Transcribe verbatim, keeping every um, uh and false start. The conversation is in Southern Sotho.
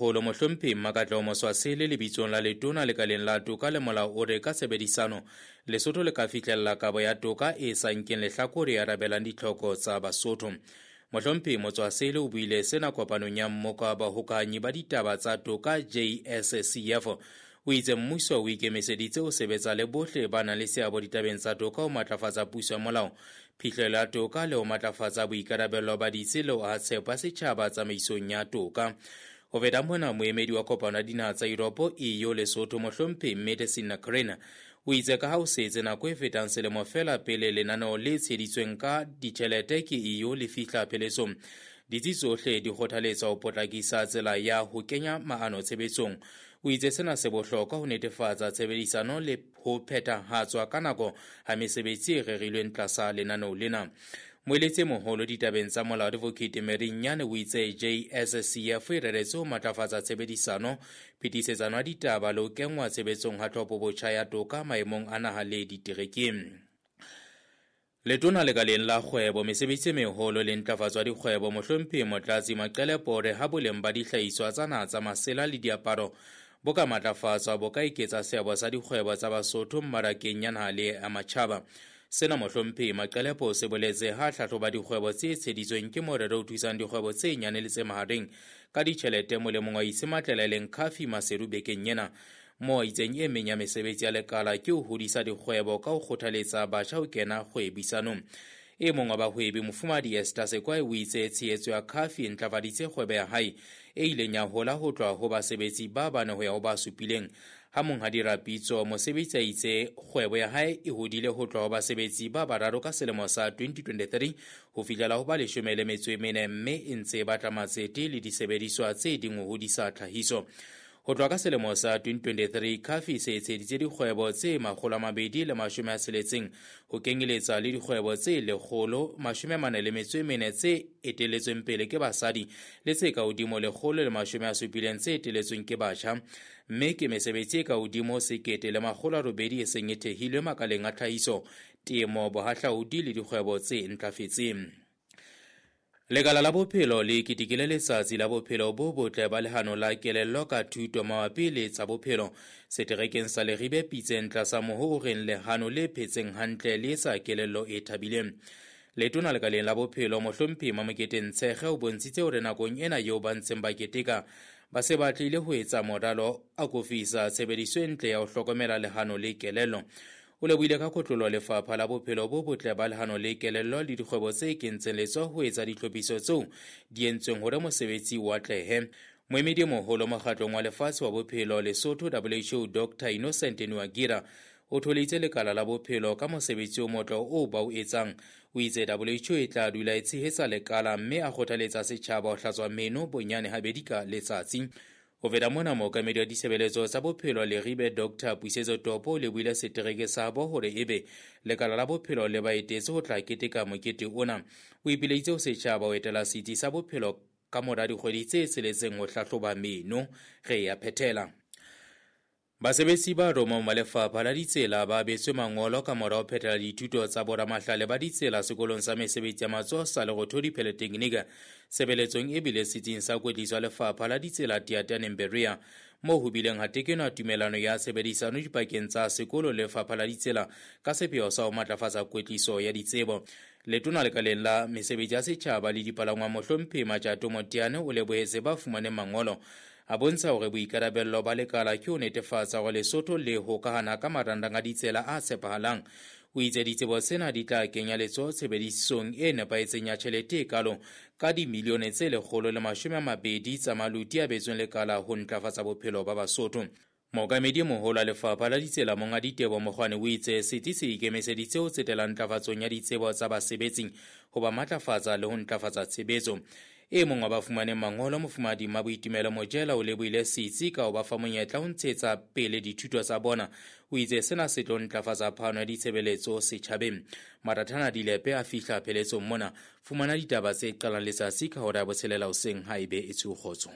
Holo Mohlomphehi Mmakatleho Moswasele lebitsong la letona lekaleng la toka le molao o re ka tshebedisano Lesotho le ka fihlella kabo ya toka e sa nkeng lehlakore e arabelang ditlhoko tsa Basotho. Mohlomphehi Motswasele o buile sena kopanong ya mmoka wa bahokahanyi ba ditaba tsa toka J S C F. O itse mmuso o ikemiseditse ho sebetsa le bohle ba nang le seabo ditabeng tsa toka ho matlafatsa puso ya molao, phihlelo ya toka le ho matlafatsa boikarabelo ba ditsi le ho aha tshepo ya setjhaba tsamaisong ya toka. Ho feta mona, moemedi wa kopano ya dinaha tsa Europe E U Lesotho Mohlomphehi Medicine Krena o itse ka ha ho setse nako e fetang selemo feela pele lenaneo le tsheheditsweng ka ditjhelete ke E U le fihla pheletsong, ditsi tsohle di kgothaletswa ho potlakisa tsela ya ho kenya maano tshebetsong. O itse sena se bohlokwa ho netefatsa tshebedisano le ho phethahatswa ka nako ha mesebetsi e rerilweng tlasa lenaneo lena. Moeletsi e moholo ditabeng tsa molao Advocate Mary Nnyane o itse J S C F e reretswe ho matlafatsa tshebedisano, phetisetsano ya ditaba le ho kenngwa tshebetsong ha tlhopho-botjha ya toka maemong a naha le diterekeng. Letona lekaleng la kgwebo, mesebetsi e meholo le ntlafatso ya dikgwebo Mohlomphehi Motlatsi Maqele Pore ha boleng ba dihlahiswa tsa naha tsa masela le diaparo bo ka matlafatswa bo ka eketsa seabo sa dikgwebo tsa Basotho mmarakeng ya naha le ya matjhaba. Sena Mohlomphehi Maqelepo se boletse ha hlahloba dikgwebo tse tsheheditsweng ke morero o thusang dikgwebo tse nyane le tse mahareng ka ditjhelete molemong wa Isimatlela e leng Khafi Maseru bekeng ena. Moo a itseng e meng ya mesebetsi ya lekala ke ho hodisa dikgwebo ka ho kgothaletsa batjha ho kena kgwebisanong. E mong wa bahwebi Mofumahadi Esther Sekwai o itse tshehetso ya Khafi e ntlafaditse kgwebo ya hae e ileng ya hola ho tloha ho basebetsi ba bane ho ya ho ba supileng. Ha monghadi Rapitso mosebetsi a itse kgwebo ya hae e hodile ho tloha ho basebetsi ba bararo ka selemo sa twenty twenty-three ho fihlela ho ba leshome le metso e mene, mme e ntse e batla matsete le disebediswa tse ding ho hodisa tlhahiso. Ho tloha ka selemo sa twenty twenty-three, Khafi se etseditse dikgwebo tse makgolo a mabedi le mashome a tsheletseng ho kenyeletsa le dikgwebo tse lekgolo mashome a mane le metso e mene tse eteletsweng pele ke basadi le tse ka hodimo lekgolo le mashome a supileng tse eteletsweng ke batjha, mme ke mesebetsi e ka hodimo sekete le makgolo a robedi e seng e thehilwe makaleng a tlhahiso, temo, bohahlaudi le dikgwebo tse ntlafetseng. Lekala la bophelo le ketekile letsatsi la bophelo bo botle ba lehano la kelello ka thuto mabapi le tsa bophelo seterekeng sa Leribe Pitseng tlasa moho o reng lehano le phetseng hantle le etsa kelello e thabileng. Letona lekaleng la bophelo Mohlomphehi Mamokete Ntshekge o bontshitse hore nakong ena eo ba ntseng ba keteka ba se ba tlile ho etsa moralo a kofisa tshebediso e ntle ya ho hlokomela lehano le kelello. O lebohile ka kotlolo lefapha la bophelo bo botle ba lehano le kelello le dikgwebo tse kentseng letsoho ho etsa ditlhophiso tseo di entsweng hore mosebetsi o atlehe. Moemedi e moholo mokgatlong wa lefatshe wa bophelo Lesotho W H O Doctor Innocent Nuagira o tholeditse lekala la bophelo ka mosebetsi o motle oo ba o etsang. O itse W H O e tla dula e tshehetsa lekala mme a kgothaletsa setjhaba ho hlatswa meno bonyane habedi ka letsatsi. Ho feta mona, mookamedi wa ditshebeletso tsa bophelo Leribe Doctor Puisetso Topo o lebohile setereke sa bo hore ebe lekala la bophelo le ba etetse ho tla keteka mokete ona. O ipileditse ho setjhaba ho etela setsi sa bophelo ka mora dikgwedi tse tsheletseng ho hlahloba meno. Re ya phethela. Basebetsi ba romong ba lefapha la ditsela ba abetswe mangolo ka mora ho phethela dithuto tsa boramahlale ba ditsela sekolong sa mesebetsi ya matsoho sa Lerothodi Polytechnic tshebeletsong e bile setsing sa kwetliso ya lefapha la ditsela Teataneng Berea, moo ho bileng ha tekenwa tumelano ya tshebedisano dipakeng tsa sekolo le lefapha la ditsela ka sepheo sa ho matlafatsa kwetliso ya ditsebo. Letona lekaleng la mesebetsi ya setjhaba le dipalangwang Mohlomphehi Matjato Moteane o lebohetse ba fumaneng mangolo, a bontsha hore boikarabello ba lekala ke ho netefatsa hore Lesotho le hokahana ka marangrang a ditsela a tshepahalang. O itse ditsebo tsena di tla kenya letsoho tshebedisong e nepahetseng ya tjhelete e kalo ka dimilione tse lekgolo le mashome a mabedi tsa maluti a betsweng lekala ho ntlafatsa bophelo ba Basotho. Mookamedi e moholo wa lefapha la ditsela Monghadi Teboho Mokgwane o itse setsi se ikemiseditse ho tsetela ntlafatsong ya ditsebo tsa basebetsi ho ba matlafatsa le ho ntlafatsa tshebetso. E mong wa ba fumaneng mangolo Mofumahadi Mmaboitumelo Mojela o lebohile setsi ka ho ba fa monyetla ho ntshetsa pele dithuto tsa bona. O itse sena se tlo ntlafatsa phano ya ditshebeletso setjhabeng. Marathana Dilepe a fihla pheletsong mona. Fumana ditaba tse qalang letsatsi ka hora ya botshelela hoseng ha ebe e tswe kgotso.